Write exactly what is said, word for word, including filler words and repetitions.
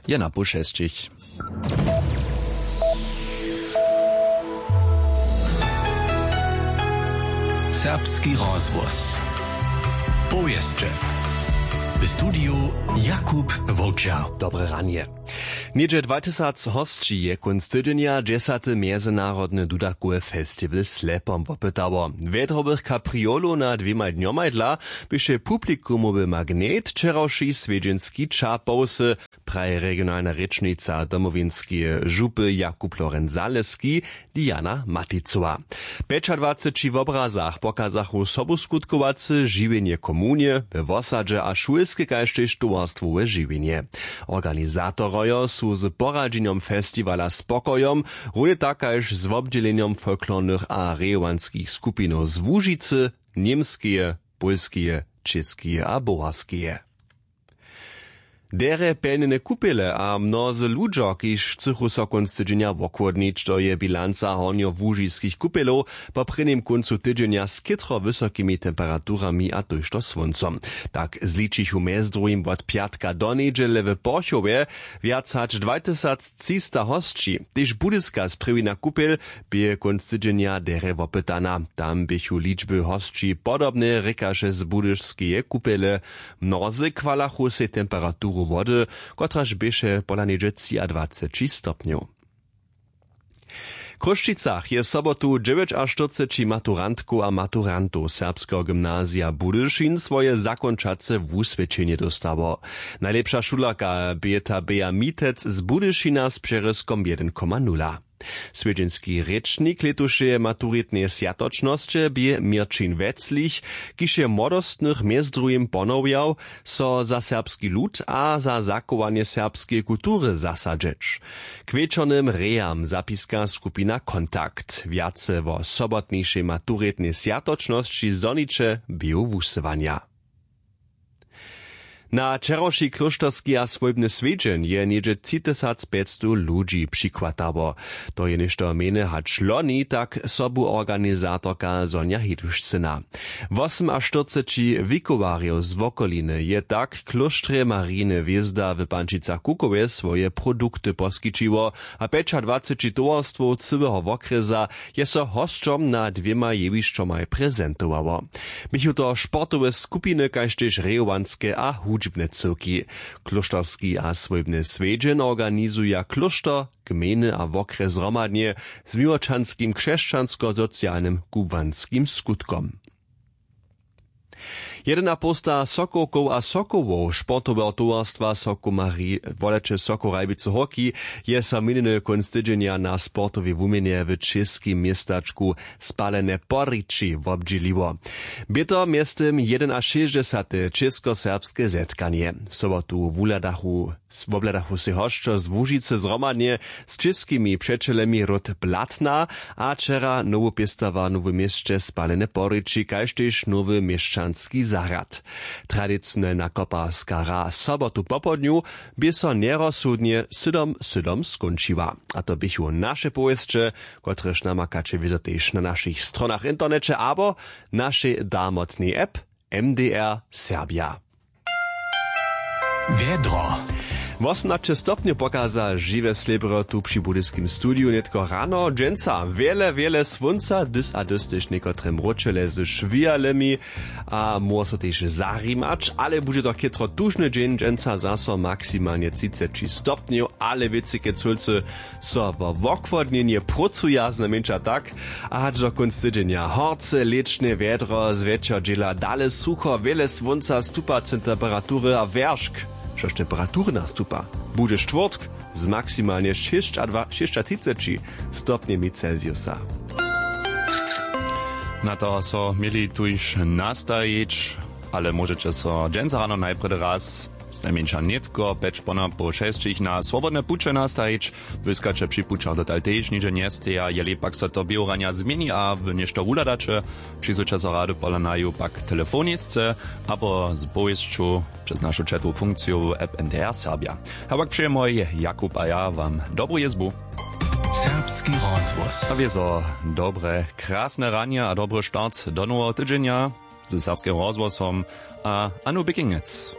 Je na pół šesćich. Serbski rozhłos. Powěsće. W studiju Jakub Wowčer. Dobre ranje. Něhdźe dwa tysac hosći je kónc tydźenja dźesaty mjezynarodny dudakowy festiwal Slepom wopytało. Wjedrobych kapriolow na dwěmaj dnjomaj dla běše publikumowy magnet wčerawši swjedźenski ča powsy, praji regionalna rěčnica Domowinskeje župy Jakub Lorenc Zaleski, Diana Maticowa. W pjećadwaceći wobrazach pokazachu sobuskutkowace žiwjenje w komunje, we wosadźe a šulske kaž tež towarstwowe žiwjenje. Organizatorojo su z poradźenjom festiwala spokojom, runje tak kaž z wobdźělenjom folklornych a rejowanskich skupinow z Łužicy, Němskeje, Pólskeje, Čěskeje a Boharskeje. Derje pjelnjene kupele a mnozy ludźo kiž chcychu so kónc tydźenja wochłodnić, to je bilanca hornjołužiskich kupjelow po prěnim kóncu tydźenja z chětro wysokimi temperaturami a tójšto słóncom. Tak zličichu mjez druhim wot pjatka do njedźele w porchowje wjac hač dwatysactřista hosći. Tež budyska sprěwina kupjel bě kónc tydźenja derje wopytana. Tam běchu ličby hosći podobne, rěkaše z budyšskeje kupjele. Mnozy chwalachu sej temperaturu wody, kotraž běše pola něhdźe třiadwaceći stopnjow. W chrósćicach je sobotu dźewjećaštyrceći maturantkow a maturantow serbskeho gymnazija budyšin swoje zakónčace wuswědčenje dóstało. Najlěpša šulerka bě ta běja mitec z budyšina z přerězkom jedyn koma nula. Swjedźenski rěčnik lětušeje maturitneje swjatočnosće bě měrćin weclich, kiž je młodostnych mjez druhim ponowjał, so za serbski lud a za zachowanje serbskeje kultury zasadźeć. K wječornym rejam zapiska skupina kontakt wjace wo sobotnišej maturitnej swjatočnosći zhoniće běhu wusyłanja. Na wčerawši klóšterski a swójbny swjedźeń je něhdźe tři tysac pjećstow ludźi přichwatało. To je něšto mjene hač loni, tak sobuorganizatorka Sonja Hedušcyna. Wosymaštyrceći wikowarjow z wokoliny je tak klóštrje Marijiny hwězda w Pančicach Kukowje swoje produkty poskićiło, a pjećadwaceći towarstwow cyłeho wokrjesa je so hosćom na dwěmaj jewišćomaj prezentowało. Běchu to sportowe skupiny kaž tež rejowanske a hudźbne cyłki. Klóšterski a swójbny swjedźeń organizuja klóšter, gmejny a wokrjes zhromadnje z miłočanskim křesćansko-socialnym kubłanskim skutkom. Jedynapołsta sokowkow a sokołow sportoweho towarstwa sokomarij woleće sokow rajbicy hoki je so minjeny kónc tydźenja na sportowej wuměnje w čěskim městačku spalene porići wobdźěliło. Bě to mjeztym jedynašěsćdźesate českoserbske zetkanje. Sobotu wuhladachu wobhladachu sej hosćo z łužicy zhromadnje z čěskimi přećelemi ród blatna, a wčera nowu pěstowarnu w měsće spalene porići kaž tež nowy měšćanski zahrad. Tradicionelna koparska hra sobotu popołdnju bě so njerozsudnje sydom sydom skónčiła. A to běchu naše powěsće, kotrež namakaće wězo tež na našich stronach w interneće abo našej darmotnej app M D R Serbia. Wjedro. Wosomnaće stopnjow pokaza žiwe slěbro tu při budyskim studiju nětko rano dźensa wjele wjele słónca dys a dys tež někotre mróčele ze šwijalymi, a móhło so tež zarimać ale budźe to chětro tužny dźeń dźensa zaso maksimalnje třiceći stopnjow ale wěcy kecólcy so wo wochłodnjenje prócuja znajmjeńša tak. A hač do kónc tydźenja horce lěčne wjedro zwjetšer dźěla dale sucho wjele słónca stupace temperatury a wjeršk, štož temperatury nastupa, budźe štwórtk z maksimalnje šěsćadwa šěsćatřiceći stopnjemi celsiusa. Na to so měli tuž nastajić, ale móžeće so dźensa rano najprjedy raz znajmjeńša nětko pjeć ponapoł šesćich na swobodne puće nastajić. Błyskaće při pućach dotal tež nihdźe njesteja jeli pak so to běhuranja změni a wy něšto wuhladaće, přisłyša so rady pola naju pak telefonisce abo z powěsću přez našu četowu funkciju w app N D R Serbia. A pak přejemoj Jakub a ja wam dobru jězbu. Serbski rozhłos a wězo dobre krasne ranje a dobry start do noweho tydźenja ze serbskim rozhłosom a Anu Bikingec.